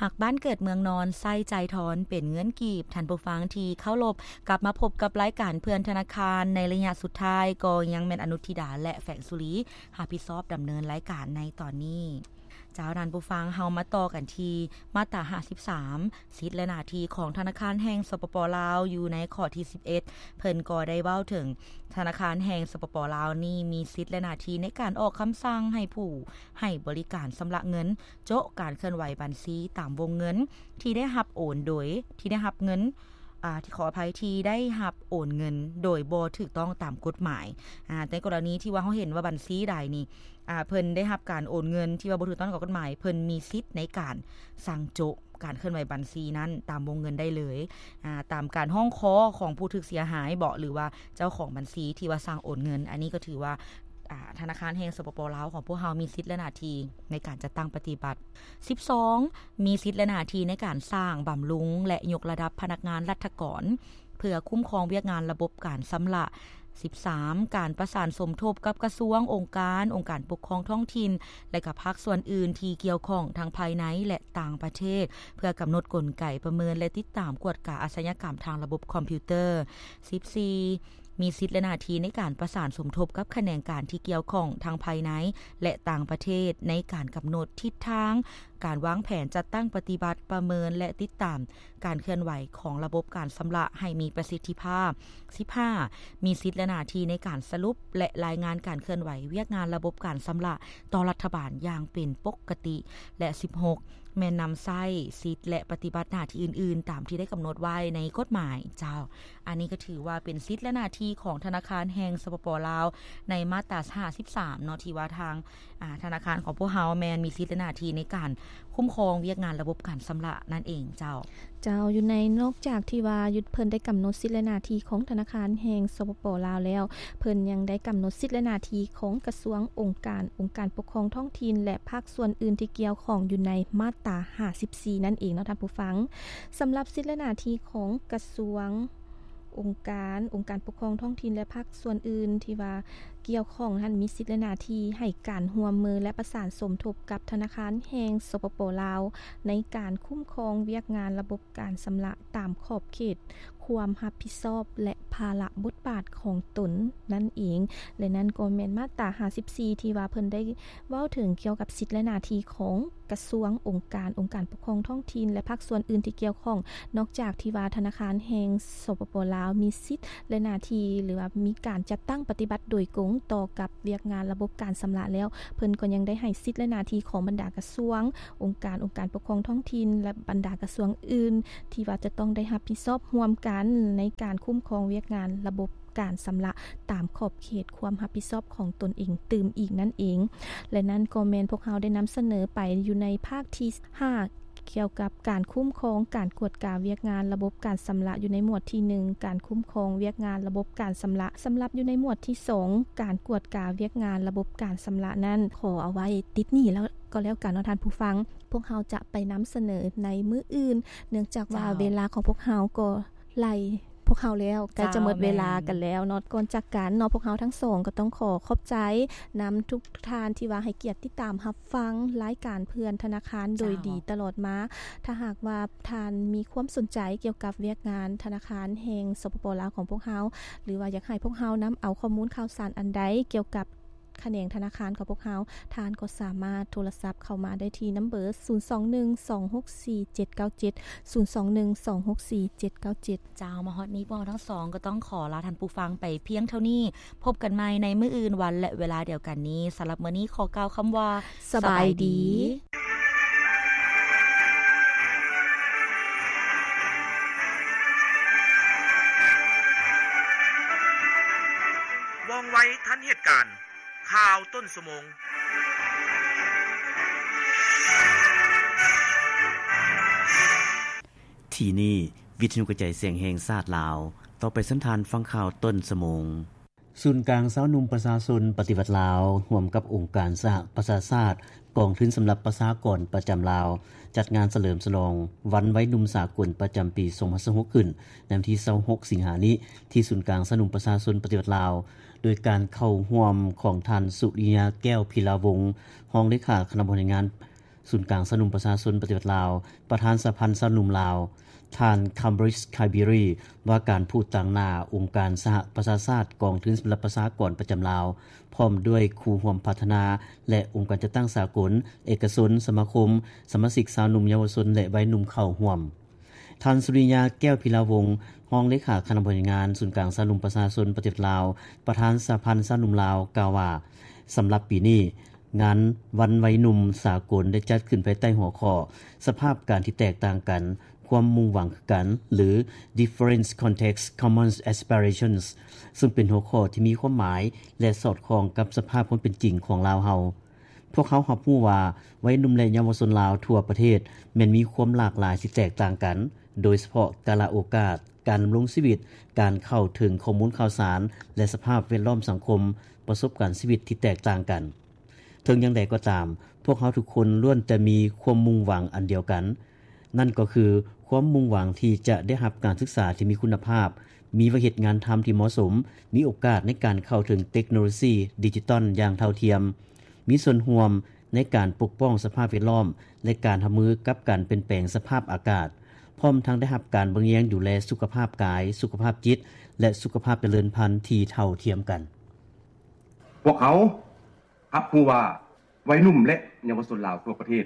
ຮັກບ້ານເກີດເມືອງນອນ ໃຊ້ຈ່າຍທອນເປັນເງິນກີບ. ທ່ານຜູ້ຟັງທີ່ເຄົາລົບ, ກັບມາພົບກັບລາຍການເພື່ອນທະນາຄານໃນໄລຍະສຸດທ້າຍ, ກໍຍັງແມ່ນອະນຸທິດາ ແລະ ແຝງສຸລີ ຮັບຜິດຊອບດຳເນີນລາຍການໃນຕອນນີ້. ເຈົ້າ, ທ່ານຜູ້ຟັງ, ເຮົາມາຕໍ່ກັນທີ່ມາດຕາຫ້າສິບສາມ ສິດ ແລະ ໜ້າທີ່ຂອງທະນາຄານແຫ່ງ ສປປ ລາວ ຢູ່ໃນຂໍ້ທີສິບເອັດ ເພິ່ນກໍໄດ້ເວົ້າເຖິງ ທະນາຄານແຫ່ງ ສປປ ລາວ ນີ້ມີສິດ ແລະ ໜ້າທີ່ໃນການອອກຄຳສັ່ງໃຫ້ຜູ້ໃຫ້ບໍລິການຊຳລະເງິນ ໂຈະການເຄື່ອນໄຫວບັນຊີຕາມວົງເງິນທີ່ໄດ້ຮັບໂອນໂດຍ ທີ່ໄດ້ຮັບເງິນ ອາ ທີ່ ຂໍອະໄພ ທີ່ໄດ້ຮັບໂອນເງິນໂດຍບໍ່ຖືກຕ້ອງຕາມກົດໝາຍ. ອາ ໃນກໍລະນີທີ່ວ່າເຮົາເຫັນວ່າບັນຊີໃດນີ້ ອາ ເພິ່ນໄດ້ຮັບການໂອນເງິນທີ່ວ່າບໍ່ຖືກຕ້ອງຕາມກົດໝາຍ, ເພິ່ນມີສິດໃນການສັ່ງໂຈະການເຄື່ອນໄຫວບັນຊີນັ້ນຕາມວົງເງິນໄດ້ເລີຍ ອາ ຕາມການຮ້ອງຂໍຂອງຜູ້ຖືກເສຍຫາຍບໍ ຫຼືວ່າເຈົ້າຂອງບັນຊີທີ່ວ່າສັ່ງໂອນເງິນ. ອັນນີ້ກໍຖືວ່າ ອາ ທະນາຄານແຫ່ງ ສປປ ລາວ ຂອງພວກເຮົາມີສິດ ແລະ ໜ້າທີ່ໃນການຈັດຕັ້ງປະຕິບັດ. ສິບສອງ ມີສິດ ແລະ ໜ້າທີ່ໃນການສ້າງ, ບຳລຸງ ແລະ ຍົກລະດັບພະນັກງານລັດຖະກອນ ເພື່ອຄຸ້ມຄອງວຽກງານລະບົບການຊຳລະ. ສິບສາມ ການປະສານສົມທົບກັບກະຊວງ, ອົງການ, ອົງການປົກຄອງທ້ອງຖິ່ນ ແລະ ກະພາກສ່ວນອື່ນທີ່ກ່ຽວຂ້ອງທັງພາຍໃນ ແລະ ຕ່າງປະເທດ ເພື່ອກຳນົດກົນໄກປະເມີນ ແລະ ຕິດຕາມກວດກາອາຊະຍາກຳທາງລະບົບຄອມພິວເຕີ. ສິບສີ່ ມີສິດ ແລະ ໜ້າທີ່ໃນການປະສານສົມທົບກັບຂະແໜງການທີ່ກ່ຽວຂ້ອງທັງພາຍໃນ ແລະ ຕ່າງປະເທດ ໃນການກຳນົດທິດທາງ ການວາງແຜນຈັດຕັ້ງປະຕິບັດ, ປະເມີນ ແລະ ຕິດຕາມການເຄື່ອນໄຫວຂອງລະບົບການຊຳລະໃຫ້ມີປະສິດທິພາບ. ສິບຫ້າ ມີສິດ ແລະ ໜ້າທີ່ໃນການສະຫຼຸບ ແລະ ລາຍງານການເຄື່ອນໄຫວວຽກງານລະບົບການຊຳລະຕໍ່ລັດຖະບານຢ່າງເປັນປົກກະຕິ. ແລະ ສິບຫົກ ແມ່ນນຳໃຊ້ສິດ ແລະ ປະຕິບັດໜ້າທີ່ອື່ນໆ ຕາມທີ່ໄດ້ກຳນົດໄວ້ໃນກົດໝາຍ. ເຈົ້າ, ອັນນີ້ກໍຖືວ່າເປັນສິດ ແລະ ໜ້າທີ່ຂອງທະນາຄານແຫ່ງ ສປປ ລາວ ໃນມາດຕາຫ້າສິບສາມເນາະ ທີ່ວ່າທາງ ອາ ທະນາຄານຂອງພວກເຮົາແມ່ນມີສິດ ແລະ ໜ້າທີ່ໃນການຄຸ້ມຄອງວຽກງານລະບົບການຊຳລະນັ້ນເອງ. ເຈົ້າ. ເຈົ້າ, ຢູ່ໃນ ນອກຈາກທີ່ວ່າຢູ່ ເພິ່ນໄດ້ກຳນົດສິດ ແລະ ໜ້າທີ່ຂອງທະນາຄານແຫ່ງ ສປປ ລາວ ແລ້ວ, ເພິ່ນຍັງໄດ້ກຳນົດສິດ ແລະ ໜ້າທີ່ຂອງກະຊວງ, ອົງການ, ອົງການປົກຄອງທ້ອງຖິ່ນ ແລະ ພາກສ່ວນອື່ນທີ່ກ່ຽວຂ້ອງຢູ່ໃນມາດຕາຫ້າສິບສີ່ນັ້ນເອງເນາະທ່ານຜູ້ຟັງ. ສຳລັບສິດ ແລະ ໜ້າທີ່ຂອງກະຊວງ, ອົງການ, ອົງການປົກຄອງທ້ອງຖິ່ນ ແລະ ພາກສ່ວນອື່ນທີ່ວ່າກ່ຽວຂ້ອງນັ້ນ ມີສິດ ແລະ ໜ້າທີ່ໃຫ້ການຮ່ວມມື ແລະ ປະສານສົມທົບກັບທະນາຄານແຫ່ງ ສປປ ລາວ ໃນການຄຸ້ມຄອງວຽກງານລະບົບການຊຳລະຕາມຂອບເຂດຄວາມຮັບຜິດຊອບ ແລະ ພາລະບົດບາດຂອງຕົນນັ້ນເອງ. ແລະ ນັ້ນກໍແມ່ນມາດຕາຫ້າສິບສີ່ ທີ່ວ່າເພິ່ນໄດ້ເວົ້າເຖິງກ່ຽວກັບສິດ ແລະ ໜ້າທີ່ຂອງ ກະຊວງ, ອົງການ, ອົງການປົກຄອງທ້ອງຖິ່ນ ແລະ ພາກສ່ວນອື່ນທີ່ກ່ຽວຂ້ອງ, ນອກຈາກທີ່ວ່າທະນາຄານແຫ່ງ ສປປ ລາວ ມີສິດ ແລະ ໜ້າທີ່ ຫຼືວ່າມີການຈັດຕັ້ງປະຕິບັດໂດຍກົງຕໍ່ກັບວຽກງານລະບົບການຊຳລະແລ້ວ, ເພິ່ນກໍຍັງໄດ້ໃຫ້ສິດ ແລະ ໜ້າທີ່ຂອງບັນດາກະຊວງ, ອົງການ, ອົງການປົກຄອງທ້ອງຖິ່ນ ແລະ ບັນດາກະຊວງອື່ນ ທີ່ວ່າຈະຕ້ອງໄດ້ຮັບຜິດຊອບຮ່ວມກັນໃນການຄຸ້ມຄອງວຽກງານລະບົບ ການຊຳລະຕາມຂອບເຂດຄວາມຮັບຜິດຊອບຂອງຕົນເອງຕື່ມອີກນັ້ນເອງ. ແລະ ນັ້ນກໍແມ່ນພວກເຮົາໄດ້ນຳສະເໜີໄປຢູ່ໃນພາກທີຫ້າ ກ່ຽວກັບການຄຸ້ມຄອງການກວດກາວຽກງານລະບົບການຊຳລະ ຢູ່ໃນໝວດທີໜຶ່ງ ການຄຸ້ມຄອງວຽກງານລະບົບການຊຳລະ. ສຳລັບຢູ່ໃນໝວດທີສອງ ການກວດກາວຽກງານລະບົບການຊຳລະນັ້ນ ຂໍເອົາໄວ້ຕິດນີ້ແລ້ວກໍແລ້ວກັນເນາະທ່ານຜູ້ຟັງ. ພວກເຮົາຈະໄປນຳສະເໜີໃນມື້ອື່ນ ເນື່ອງຈາກວ່າ ເຈົ້າ ເວລາຂອງພວກເຮົາກໍໄລ່ ພວກເຮົາແລ້ວ ໃກ້ຈະໝົດເວລາກັນແລ້ວເນາະ. ແມ່ນ ກ່ອນຈາກກັນເນາະ ພວກເຮົາທັງສອງກໍຕ້ອງຂໍຂອບໃຈນຳທຸກທ່ານທີ່ວ່າໃຫ້ກຽດຕິດຕາມຮັບຟັງລາຍການເພື່ອນທະນາຄານໂດຍດີຕະຫຼອດມາ. ເຈົ້າ ຖ້າຫາກວ່າທ່ານມີຄວາມສົນໃຈກ່ຽວກັບວຽກງານທະນາຄານແຫ່ງ ສປປ ລາວ ຂອງພວກເຮົາ ຫຼືວ່າຢາກໃຫ້ພວກເຮົານຳເອົາຂໍ້ມູນຂ່າວສານອັນໃດກ່ຽວກັບ ຂະແໜງທະນາຄານຂອງພວກເຮົາ, ທ່ານກໍສາມາດໂທລະສັບເຂົ້າມາໄດ້ທີ່ນຳເບີ ສູນສອງໜຶ່ງ ສອງຫົກສີ່ ເຈັດເກົ້າເຈັດ ສູນສອງໜຶ່ງ ສອງຫົກສີ່ ເຈັດເກົ້າເຈັດ. ເຈົ້າ, ມາຮອດນີ້ພວກເຮົາທັງສອງກໍຕ້ອງຂໍລາທ່ານຜູ້ຟັງໄປພຽງເທົ່ານີ້. ພົບກັນໃໝ່ໃນມື້ອື່ນວັນ ແລະ ເວລາດຽວກັນນີ້. ສຳລັບມື້ນີ້ຂໍກ່າວຄຳວ່າ ສະບາຍດີ. ສະບາຍດີ. ວ່ອງໄວທັນເຫດການ. ຂ່າວຕົ້ນຊົ່ວໂມງ. ທີ່ນີ້ ວິທະຍຸກະຈາຍສຽງແຫ່ງຊາດລາວ. ຕໍ່ໄປເຊີນທ່ານຟັງຂ່າວຕົ້ນຊົ່ວໂມງ. ສູນກາງຊາວໜຸ່ມປະຊາຊົນປະຕິວັດລາວ ຮ່ວມກັບອົງການສະຫະປະຊາຊາດ, ກອງທຶນສຳລັບປະຊາກອນປະຈຳລາວ ຈັດງານສະເຫຼີມສະຫຼອງວັນໄວໜຸ່ມສາກົນປະຈຳປີສອງພັນຊາວຫົກ ຂຶ້ນໃນວັນທີຊາວຫົກ ສິງຫານີ້ ທີ່ສູນກາງຊາວໜຸ່ມປະຊາຊົນປະຕິວັດລາວ ໂດຍການເຂົ້າຮ່ວມຂອງທ່ານ ສຸລິຍາ ແກ້ວພິລາວົງ ຮອງເລຂາຄະນະບໍລິຫານງານ ສູນກາງຊາວໜຸ່ມປະຊາຊົນປະຕິວັດລາວ, ປະທານສະຫະພັນຊາວໜຸ່ມລາວ, ທ່ານ ຄຳບຣິດ ຄາບີຣີ ວ່າການຜູ້ຕາງໜ້າອົງການສະຫະປະຊາຊາດ, ກອງທຶນສຳລັບປະຊາກອນປະຈຳລາວ, ພ້ອມດ້ວຍຄູ່ຮ່ວມພັດທະນາ ແລະ ອົງການຈັດຕັ້ງສາກົນ, ເອກະຊົນ, ສະມາຄົມ, ສະມາຊິກຊາວໜຸ່ມ, ເຍົາວະຊົນ ແລະ ໄວໜຸ່ມເຂົ້າຮ່ວມ. ທ່ານ ສຸລິຍາ ແກ້ວພິລາວົງ ຮອງເລຂາຄະນະບໍລິຫານງານສູນກາງຊາວໜຸ່ມປະຊາຊົນປະຕິວັດລາວ, ປະທານສະຫະພັນຊາວໜຸ່ມລາວ ກ່າວວ່າ ສຳລັບປີນີ້, ງານວັນໄວໜຸ່ມສາກົນໄດ້ຈັດຂຶ້ນພາຍໃຕ້ຫົວຂໍ້ ສະພາບການທີ່ແຕກຕ່າງກັນ, ຄວາມມຸ່ງຫວັງຄືກັນ ຫຼື Different Contexts, Common Aspirations, ຊຶ່ງເປັນຫົວຂໍ້ທີ່ມີຄວາມໝາຍ ແລະ ສອດຄ່ອງກັບສະພາບຄວາມເປັນຈິງຂອງລາວເຮົາ. ພວກເຮົາຮັບຮູ້ວ່າ ໄວໜຸ່ມ ແລະ ເຍົາວະຊົນລາວທົ່ວປະເທດແມ່ນມີຄວາມຫຼາກຫຼາຍທີ່ແຕກຕ່າງກັນ, ໂດຍສະເພາະກາລະໂອກາດ, ການດຳລົງຊີວິດ, ການເຂົ້າເຖິງຂໍ້ມູນຂ່າວສານ ແລະ ສະພາບແວດລ້ອມສັງຄົມ, ປະສົບການຊີວິດທີ່ແຕກຕ່າງກັນ. ເຖິງຢ່າງໃດກໍຕາມ, ພວກເຮົາທຸກຄົນລ້ວນແຕ່ມີຄວາມມຸ່ງຫວັງອັນດຽວກັນ, ນັ້ນກໍຄືຄວາມມຸ່ງຫວັງທີ່ຈະໄດ້ຮັບການສຶກສາທີ່ມີຄຸນນະພາບ, ມີວຽກເຮັດງານທຳທີ່ເໝາະສົມ, ມີໂອກາດໃນການເຂົ້າເຖິງເຕັກໂນໂລຊີດິຈິຕອນຢ່າງເທົ່າທຽມ, ມີສ່ວນຮ່ວມໃນການປົກປ້ອງສະພາບແວດລ້ອມ ແລະ ການຮັບມືກັບການປ່ຽນແປງສະພາບອາກາດ, ພ້ອມທັງໄດ້ຮັບການເບິ່ງແຍງດູແລສຸຂະພາບກາຍ, ສຸຂະພາບຈິດ ແລະ ສຸຂະພາບຈະເລີນພັນທີ່ເທົ່າທຽມກັນ. ພວກເຮົາຮັບຮູ້ວ່າ ໄວໜຸ່ມ ແລະ ເຍົາວະຊົນລາວທົ່ວປະເທດ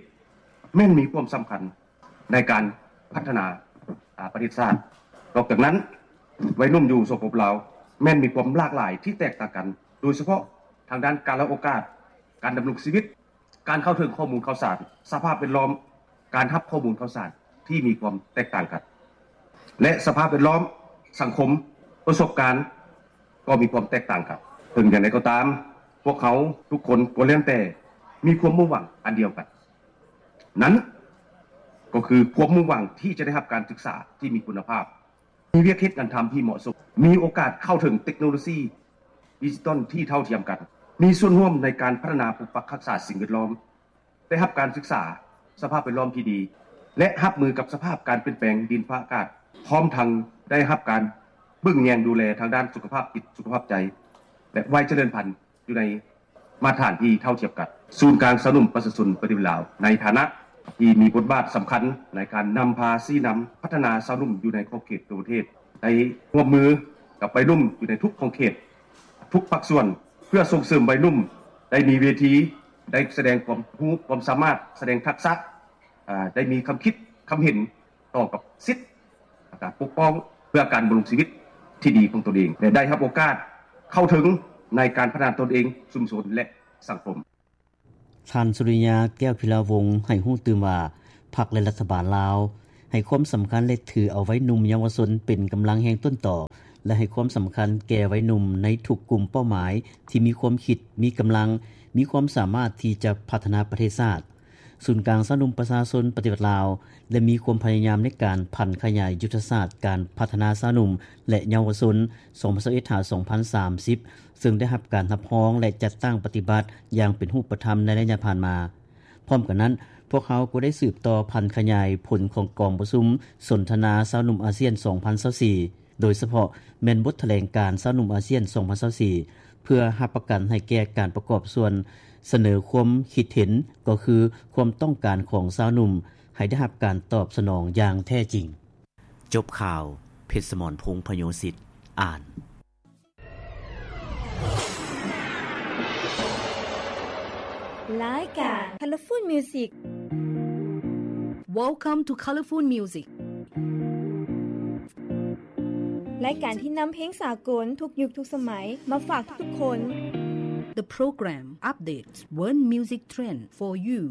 ແມ່ນມີຄວາມສຳຄັນໃນການພັດທະນາ ອາ ປະເທດຊາດ. ນອກຈາກນັ້ນ, ໄວໜຸ່ມຢູ່ ສປປ ລາວ ແມ່ນມີຄວາມຫຼາກຫຼາຍທີ່ແຕກຕ່າງກັນ, ໂດຍສະເພາະທາງດ້ານກາລະໂອກາດ, ການດຳລົງຊີວິດ, ການເຂົ້າເຖິງຂໍ້ມູນຂ່າວສານ, ສະພາບແວດລ້ອມ, ການຮັບຂໍ້ມູນຂ່າວສານທີ່ມີຄວາມແຕກຕ່າງກັນ ແລະ ສະພາບແວດລ້ອມ, ສັງຄົມ, ປະສົບການ ກໍມີຄວາມແຕກຕ່າງກັນ. ເຖິງຢ່າງໃດກໍຕາມ, ພວກເຮົາທຸກຄົນກໍລ້ວນແຕ່ມີຄວາມມຸ່ງຫວັງອັນດຽວກັນ, ນັ້ນກໍຄືຄວາມມຸ່ງຫວັງທີ່ຈະໄດ້ຮັບການສຶກສາທີ່ມີຄຸນນະພາບ, ມີວຽກເຮັດງານທຳທີ່ເໝາະສົມ, ມີໂອກາດເຂົ້າເຖິງເຕັກໂນໂລຊີດິຈິຕອນທີ່ເທົ່າທຽມກັນ, ມີສ່ວນຮ່ວມໃນການພັດທະນາປົກປັກຮັກສາສິ່ງແວດລ້ອມ, ໄດ້ຮັບການສຶກສາສະພາບແວດລ້ອມທີ່ດີ ແລະ ຮັບມືກັບສະພາບການປ່ຽນແປງດິນຟ້າອາກາດ, ພ້ອມທັງໄດ້ຮັບການເບິ່ງແຍງດູແລທາງດ້ານສຸຂະພາບຈິດ, ສຸຂະພາບໃຈ ແລະ ໄວຈະເລີນພັນຢູ່ໃນມາດຕະຖານທີ່ເທົ່າທຽມກັນ. ສູນກາງຊາວໜຸ່ມປະຊາຊົນປະຕິວັດລາວ ໃນຖານະທີ່ມີບົດບາດສຳຄັນໃນການນຳພາຊີ້ນຳພັດທະນາຊາວໜຸ່ມຢູ່ໃນຂອບເຂດທົ່ວປະເທດ, ໄດ້ຮ່ວມມືກັບໄວໜຸ່ມຢູ່ໃນທຸກຂອບເຂດ, ທຸກພາກສ່ວນ ເພື່ອສົ່ງເສີມໄວໜຸ່ມໄດ້ມີເວທີ ໄດ້ສະແດງຄວາມຮູ້ຄວາມສາມາດ, ສະແດງທັກສະ, ອາ, ໄດ້ມີຄຳຄິດຄຳເຫັນຕໍ່ກັບສິດ ແລະ ການປົກປ້ອງເພື່ອການດຳລົງຊີວິດທີ່ດີຂອງຕົນເອງ ແລະ ໄດ້ຮັບໂອກາດເຂົ້າເຖິງໃນການພັດທະນາຕົນເອງ, ຊຸມຊົນ ແລະ ສັງຄົມ. ທ່ານ ສຸລິຍາ ແກ້ວພິລາວົງ ໃຫ້ຮູ້ຕື່ມວ່າ ພັກ ແລະ ລັດຖະບານລາວ ໃຫ້ຄວາມສຳຄັນ ແລະ ຖືເອົາໄວໜຸ່ມເຍົາວະຊົນເປັນກຳລັງແຮງຕົ້ນຕໍ ແລະ ໃຫ້ຄວາມສຳຄັນແກ່ໄວໜຸ່ມໃນທຸກກຸ່ມເປົ້າໝາຍທີ່ມີຄວາມຄິດ, ມີກຳລັງ, ມີຄວາມສາມາດທີ່ຈະພັດທະນາປະເທດຊາດ. ສູນກາງຊາວໜຸ່ມປະຊາຊົນປະຕິວັດລາວ ໄດ້ມີຄວາມພະຍາຍາມໃນການຜັນຂະຫຍາຍຍຸດທະສາດການພັດທະນາຊາວໜຸ່ມ ແລະ ເຍົາວະຊົນ ສອງພັນຊາວເອັດ ຫາ ສອງພັນສາມສິບ ເຊິ່ງໄດ້ຮັບການຮັບຮອງ ແລະ ຈັດຕັ້ງປະຕິບັດຢ່າງເປັນຮູບປະທຳໃນໄລຍະຜ່ານມາ. ພ້ອມກັນນັ້ນ, ພວກເຮົາກໍໄດ້ສືບຕໍ່ຜັນຂະຫຍາຍຜົນຂອງກອງປະຊຸມສົນທະນາຊາວໜຸ່ມອາຊຽນ ສອງພັນຊາວສີ່ ໂດຍສະເພາະແມ່ນບົດຖະແຫຼງການຊາວໜຸ່ມອາຊຽນ ສອງພັນຊາວສີ່ ເພື່ອຮັບປະກັນໃຫ້ແກ່ການປະກອບສ່ວນສະເໜີຄວາມຄິດເຫັນ, ກໍຄືຄວາມຕ້ອງການຂອງຊາວໜຸ່ມ ໃຫ້ໄດ້ຮັບການຕອບສະໜອງຢ່າງແທ້ຈິງ. ຈົບຂ່າວ, ເພັດສະໝອນ ພົງພະໂຍສິດ ອ່ານ. ລາຍການ Colorful Music. Welcome to Colorful Music. ລາຍການທີ່ນຳເພງສາກົນທຸກຍຸກທຸກສະໄໝມາຝາກທຸກໆຄົນ. The program updates world music trend for you.